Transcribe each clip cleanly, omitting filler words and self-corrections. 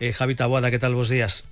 Javi Taboada, que tal, bos días?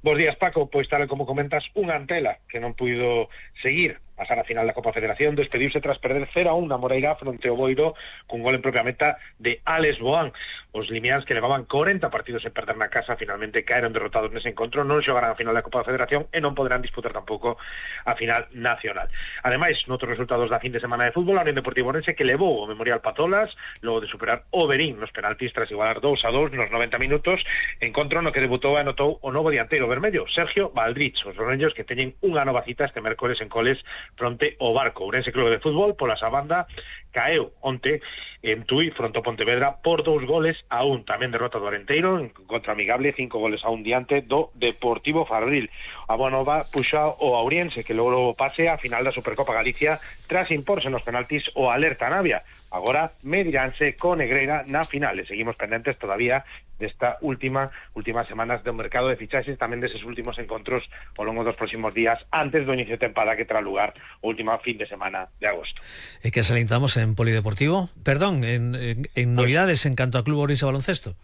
Bos días, Paco. Pois tal como comentas, unha Antela que non puido seguir pasar a final da Copa Federación, despediuse tras perder 0-1 na Moreira fronte ao Boiro cun gol en propia meta de Alex Boán. Os limiáns, que levaban 40 partidos en perder na casa, finalmente caeron derrotados nese encontro, non xogarán a final da Copa Federación e non poderán disputar tampouco a final nacional. Ademais, noutros resultados da fin de semana de fútbol, a Unión Deportiva Ourense que levou o Memorial Patolas logo de superar o Berín nos penaltis tras igualar 2-2 nos 90 minutos, encontro no que debutou e anotou o novo dianteiro vermello, Sergio Valdrich. Os orellos que teñen unha nova cita este mércores en Coles fronte ao Barco. Ourense Club de Fútbol, pola esa banda, caeu onte en Tui fronte ao Pontevedra por 2-1. Tamén derrota do Arenteiro en contra amigable, 5-1 diante do Deportivo Fabril. A boa nova puxa o Ourense, que logrou pase a final da Supercopa Galicia tras imporse nos penaltis o Alerta Navia. Agora mediránse con Negreira na final. E seguimos pendentes todavía desta últimas semanas do mercado de fichaxes, tamén deses últimos encontros ao longo dos próximos días antes do inicio de tempada que terá lugar o último fin de semana de agosto. E que salientamos en Polideportivo, perdón, en novidades en canto a Club Ourense Baloncesto.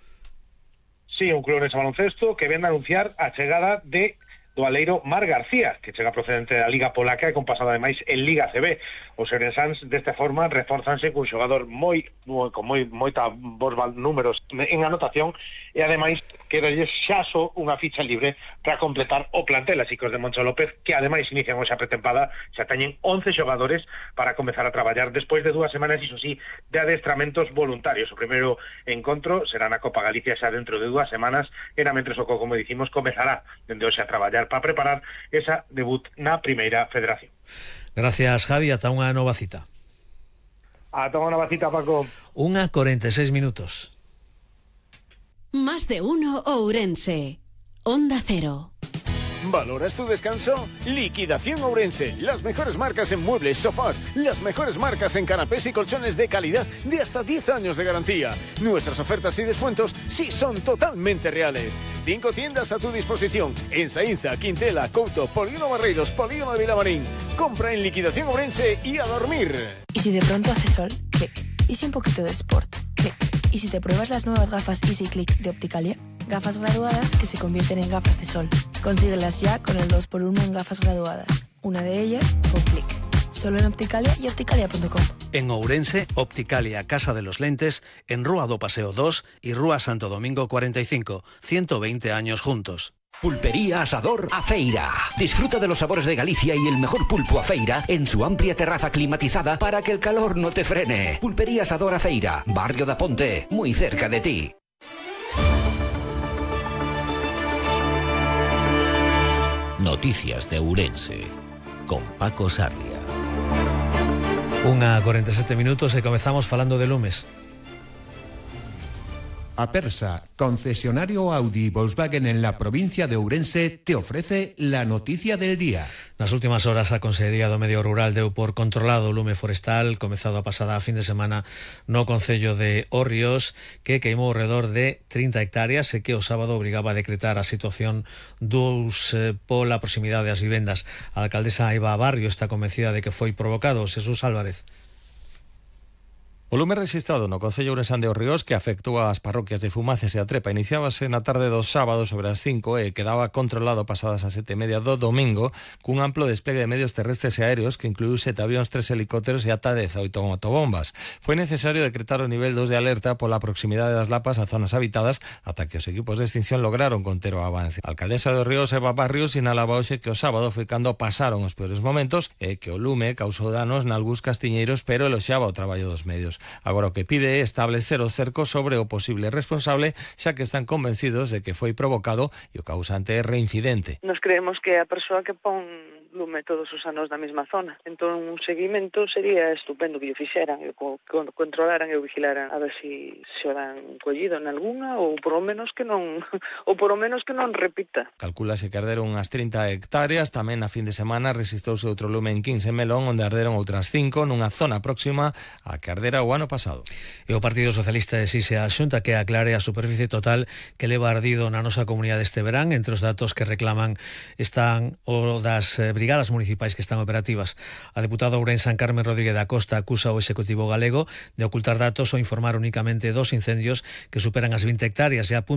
Sí, un Club Ourense Baloncesto que ven a anunciar a chegada de do aleiro Marc García, que chega procedente da Liga Polaca e con pasado ademais en Liga CB. Os ourensáns desta forma reforzanse cun xogador con moita bons números en anotación e ademais quedalles xa só unha ficha libre para completar o plantel. Así que os de Moncho López, que ademais inician hoxe a pretempada, xa teñen 11 xogadores para comezar a traballar despois de 2 semanas, iso sí, de adestramentos voluntarios. O primeiro encontro será na Copa Galicia xa dentro de 2 semanas, era mentres o como dicimos, comezará dende hoxe a traballar para preparar esa debut na Primeira Federación. Gracias, Javi, ata unha nova cita. Ata unha nova cita, Paco. 1:46 minutos. Más de uno Ourense. Onda Cero. ¿Valoras tu descanso? Liquidación Ourense. Las mejores marcas en muebles, sofás, las mejores marcas en canapés y colchones de calidad de hasta 10 años de garantía. Nuestras ofertas y descuentos sí son totalmente reales. 5 tiendas a tu disposición en Saínza, Quintela, Couto, Polígono Barreiros, Polígono de Vilamarín. Compra en Liquidación Ourense y a dormir. ¿Y si de pronto hace sol? Clic. ¿Y si un poquito de sport? Clic. ¿Y si te pruebas las nuevas gafas Easy Click de Opticalia? Gafas graduadas que se convierten en gafas de sol. Consíguelas ya con el 2x1 en gafas graduadas. Una de ellas con clic. Solo en Opticalia y opticalia.com. En Ourense, Opticalia Casa de los Lentes, en Rúa do Paseo 2 y Rúa Santo Domingo 45. 120 años juntos. Pulpería Asador Afeira. Disfruta de los sabores de Galicia y el mejor pulpo Afeira en su amplia terraza climatizada para que el calor no te frene. Pulpería Asador Afeira, Barrio da Ponte, muy cerca de ti. Noticias de Ourense con Paco Sarria. 1:47 minutos e comezamos falando de lumes. Apersa, concesionario Audi y Volkswagen en la provincia de Ourense, te ofrece la noticia del día. Nas últimas horas a Consellería do Medio Rural deu por controlado o lume forestal comezado a pasada fin de semana no concello de Hórreos, que queimou alrededor de 30 hectáreas e que o sábado obrigaba a decretar a situación pola proximidade das vivendas. A alcaldesa Eva Barrio está convencida de que foi provocado. Jesús Álvarez. O lume registrado no concello ourensán de Hórreos, que afectou ás parroquias de Fumaces e a Trepa, iniciábase na tarde do sábado sobre as 5 e quedaba controlado pasadas as 7:30 do domingo cun amplo despegue de medios terrestres e aéreos que incluiu 7 avións, 3 helicópteros e ata 18 motobombas. Foi necesario decretar o nivel 2 de alerta pola proximidade das lapas a zonas habitadas ata que os equipos de extinción lograron conter o avance. A alcaldesa de Hórreos, Eva Barrio, sinalaba hoxe que o sábado foi cando pasaron os peores momentos e que o lume causou danos nalgúns castiñeiros, pero eloxiaba o traballo dos medios. Agora o que pide é establecer o cerco sobre o posible responsable, xa que están convencidos de que foi provocado e o causante é reincidente. Nos creemos que a persoa que pon lume todos os anos na mesma zona. Entón, un seguimento sería estupendo que o fixeran, e controlaran e o vigilaran a ver se o dan collido en alguna ou por lo menos que non repita. Calculase que arderon unhas 30 hectáreas. Tamén a fin de semana registrouse outro lume en 15 Melón, onde arderon outras 5 nunha zona próxima a que ardera o ano pasado. E o Partido Socialista exige a Xunta que aclare a superficie total que leva ardido na nosa comunidade este verán. Entre os datos que reclaman están o das brigadas municipais que están operativas. A deputada ourensán Carmen Rodríguez da Costa acusa ao Executivo galego de ocultar datos ou informar únicamente dos incendios que superan as 20 hectáreas e apunta